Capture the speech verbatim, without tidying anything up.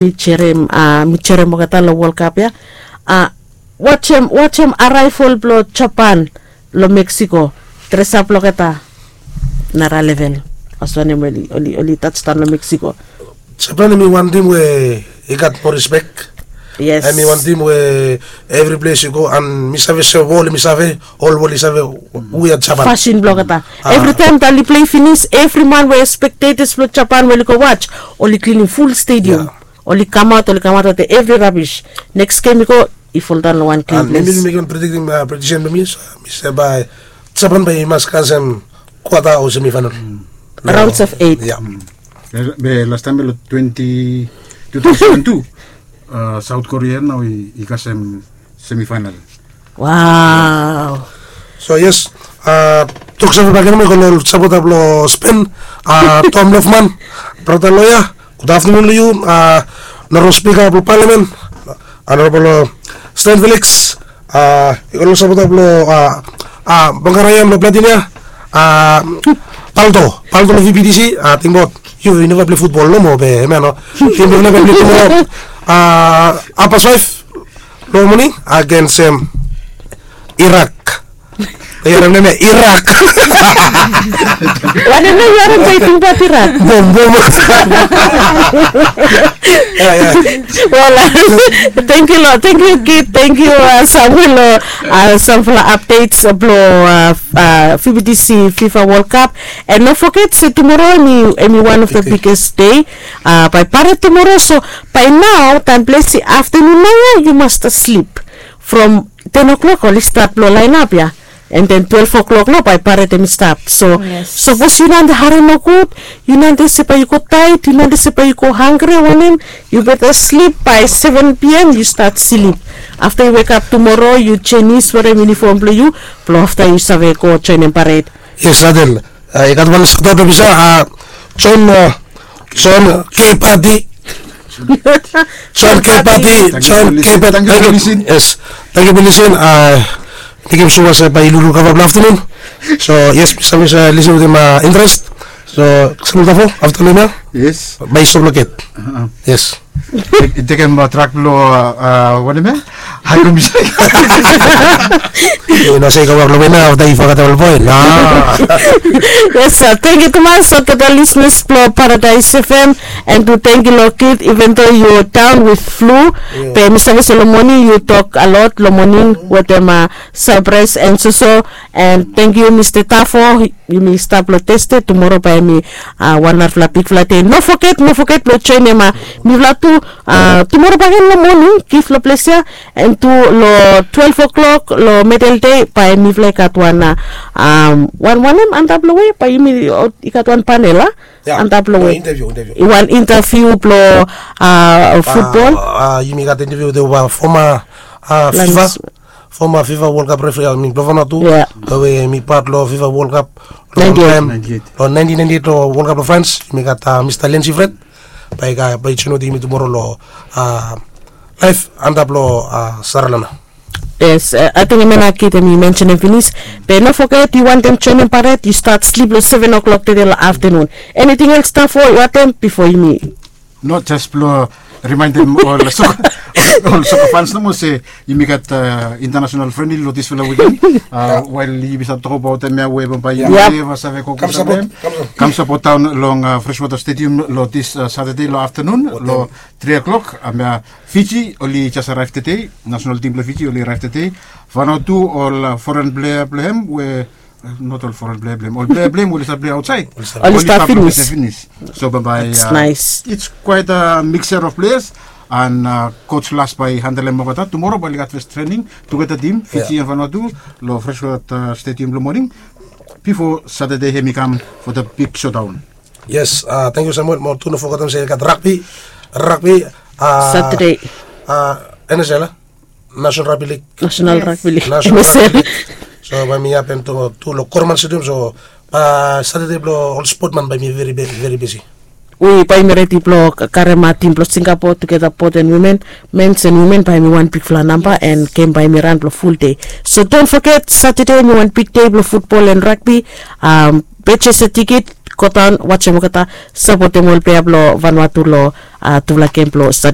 Mi jerem a mi jerem olgeta long World Cup ya. A wajem wajem araivol blong Japan long Mexico. Dresap olgeta nara level. As wanem oli oli oli touchdown long Mexico. Japan em i wan tim we i gat mo respek. Yes. Em i wan tim we evri ples i go an mi save se wol mi save ol wol i save. We a Japan. Fasin blong olgeta. Evri taim da oli plei finis evri man we spektetas blong Japan we oli go waj oli klinim ful stadium. Oli kamaot oli kamaot olgeta evri rabis. Neks gem i go i foldaon long wan klin ples. Mi bin mekim predikting prediksen blong mi so mi se bae Japan bae i mas kasem kwata o semifainal. Raons of eit. Be lastaim be long twenti two thousand and two, South Korea nao i kasem semifainal. Wow. So yes, toksave bagen mo i go long ol sapota blong Spen, Tom Lofman, brata loya. Gud aftanun long yu. Noro spika blong palamen, Honorable Stan Felix, i go long sapota blong Bangarayan blong Platinia, Palto Palto long V P T C. Tingbaot yu neva plei futbol nomo be hemia no. Tim blong neva plei tumoro. Apa saif long moning agens Irak. Irak. Wanem nao yu harim bai tingbaot Irak? Bom bom. Wala. Tengkiu lo tengkiu kid tengkiu Samuel lo samfala apdets blong V P T C FIFA World Cup. And no foget se tumoro em i wan of the biggest day. Bai paret tumoro so bai nao taim ples i aftanun nao ya yu mas slip from ten o'clock oli stat blong lainap ya. And then twelve o'clock nao bai paret em i stap so sapos yu nante harim nogud, yu nante se bai yu go tait yu nante se bai yu go hangre wanem, yu beta slip bai seven pm yu stat slip. Afta yu wekap tumoro yu jenis werim yunifom blong yu blong afta yu save go joinim paret. Yes, adel. I gat wan sota blong bisa, John, John K Pati. John K Pati, John K Pati. Thank you for listening. Yes, thank you for listening. Thank you so much. Bai lulu kava blong aftanun. So yes, mi save listen with interest. So samul tafo aftanun ya. Yes. Bai stop loket. Yes. I tekem trak blong wanem ya? Haigum. Yu no se i kama blong mi nao afta i fakata ol boen. Yes, tengkiu tumas olgeta lisnas blong Paradais F M. And tu tengkiu long kid even though yu daon with flu, be mi save se long moning yu tok a lot long moning wetem sapres and soso. And tengkiu Mista Tafo. Yumi stap long Tesde tumoro bae hemi wan narafala bigfala dei. No foget, no foget blong joenem mifala tu tumoro bakegen long moning gif long ples ya. And tu long twelve o'clock long medel dei bae mifala i gat wan wan wanem antap long we bae yumi i gat wan panel a antap long we i wan intaviu blong futbol. Yumi gat intaviu wetem foma fifa foma fifa wolkap refri a mi blong fana tu we mi pat long fifa wolkap long taem long naentin naentin eit long wolkap long frans. Yumi gat mista lensi fred bae i joen wetem yumi tumoro long laef antap long saralana. Yes, ating em ya na kid em i mensenem finis. Be no foget yu wantem joenem paret yu stat slip long seven o'clock tede long aftanun. Eniting els tafo yu wantem bifo yumi. No, jes blong rimaendem ol soka fans nomo se yumi gat intanasenal frendli long disfala wiken. Wael yumi save tokabaot em ya we bambae yumi neva save go go save kam sapot daon long freswata stedium long dis satade long aftanun long tri o'klok. Fiji oli jes araev tede. Nasenal tim blong fiji oli araev tede. Fano tu ol foren plea blong hem we not ol foren plea blong hem ol plea blong hem oli save plea aotsaed oli stap finis. So bambae its kwaet a mikser of pleas. And coach las bae i handelem olgeta tumoro bae oli gat fes trening tugeta tim fiji and fano tu long freswata stedium long moning bifo satade hem i kam fo da big sodaon. Yes, tangkiu samuel mo tu no fogetem se i gat rakbi rakbi satade. Nsl a nasenal rakbi lig. Nasenal rakbi lig. So bae mi hapen tu long korman stedium so satade blong ol spotman bae mi veri bisi. We bae mi redi blong karem tim blong singapo tugeta bot en wimen, mens en wimen bae mi wan bigfala namba en gem bae mi ran blong ful dei. So don foget satade mi wan big dei blong futbol en rakbi. Pejes a tikit. godaon watsem olgeta, sapotem ol plea blong vanua tu long tufala gem blong stadi.